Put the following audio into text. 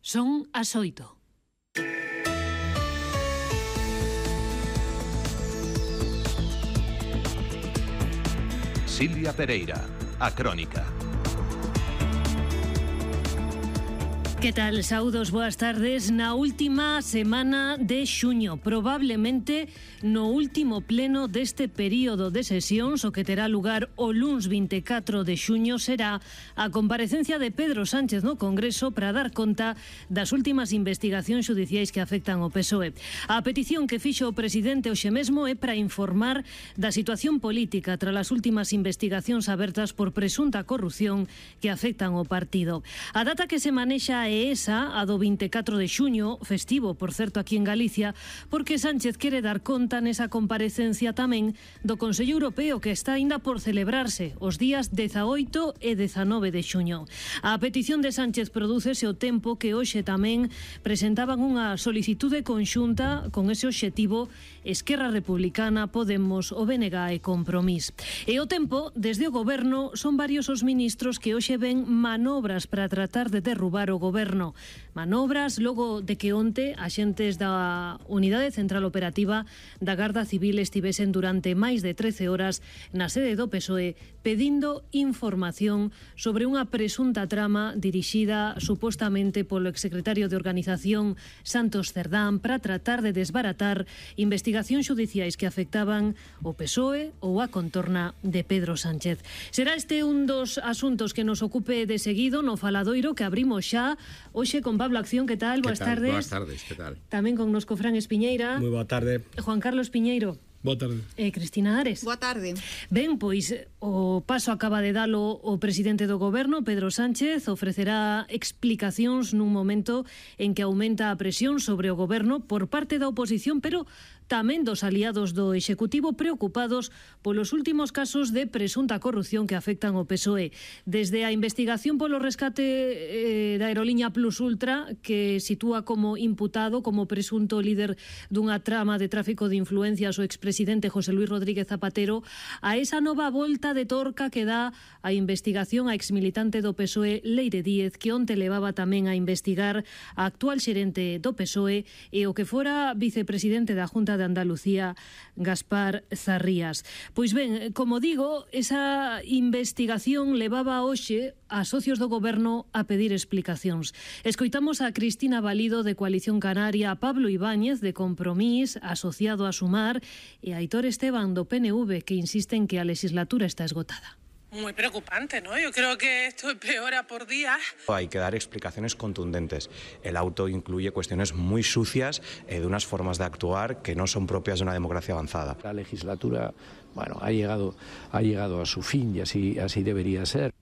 Son as 8. Silvia Pereira, a Crónica. Que tal? Saúdos, boas tardes. Na última semana de xuño, probablemente no último pleno deste período de sesións, o que terá lugar o luns 24 de xuño, será a comparecencia de Pedro Sánchez no Congreso para dar conta das últimas investigacións xudiciais que afectan o PSOE. A petición que fixo o presidente hoxe mesmo é para informar da situación política tras as últimas investigacións abertas por presunta corrupción que afectan o partido. A data que se manexa é esa, a do 24 de xuño, festivo, por certo, aquí en Galicia, porque Sánchez quere dar conta nesa comparecencia tamén do Consello Europeo que está aínda por celebrarse os días 18 e 19 de xuño. A petición de Sánchez prodúcese o tempo que hoxe tamén presentaban unha solicitude conxunta con ese obxectivo Esquerra Republicana, Podemos, o BNG e Compromís. E o tempo, desde o Goberno, son varios os ministros que hoxe ven manobras para tratar de derrubar o Goberno. Manobras logo de que onte axentes da Unidade Central Operativa da Garda Civil estivesen durante máis de 13 horas na sede do PSOE pedindo información sobre unha presunta trama dirixida supostamente polo exsecretario de Organización Santos Cerdán para tratar de desbaratar investigacións xudiciais que afectaban o PSOE ou a contorna de Pedro Sánchez. Será este un dos asuntos que nos ocupe de seguido no faladoiro que abrimos xa hoxe con Pablo Acción. Que tal? Boas tardes. Boas tardes, que tal? Tamén con nosco Fran Espiñeira. Moi boa tarde. Juan Carlos Piñeiro. Boa tarde. E Cristina Ares. Boa tarde. Ben, pois o paso acaba de dalo o presidente do Goberno, Pedro Sánchez, ofrecerá explicacións nun momento en que aumenta a presión sobre o Goberno por parte da oposición, pero tamén dos aliados do Executivo preocupados polos últimos casos de presunta corrupción que afectan o PSOE. Desde a investigación polo rescate da aerolínea Plus Ultra, que sitúa como imputado, como presunto líder dunha trama de tráfico de influencias o expresidente José Luis Rodríguez Zapatero, a esa nova volta de torca que dá a investigación a exmilitante do PSOE Leire Díez, que onte levaba tamén a investigar a actual xerente do PSOE e o que fora vicepresidente da Junta de Andalucía, Gaspar Zarrías. Pois ben, como digo, esa investigación levaba hoxe a socios do Goberno a pedir explicacións. Escoitamos a Cristina Valido de Coalición Canaria, a Pablo Ibáñez de Compromís, asociado a Sumar, e a Aitor Esteban do PNV, que insiste en que a legislatura está esgotada. Muy preocupante, ¿no? Yo creo que esto empeora por día. Hay que dar explicaciones contundentes. El auto incluye cuestiones muy sucias de unas formas de actuar que no son propias de una democracia avanzada. La legislatura, bueno, ha llegado a su fin y así debería ser.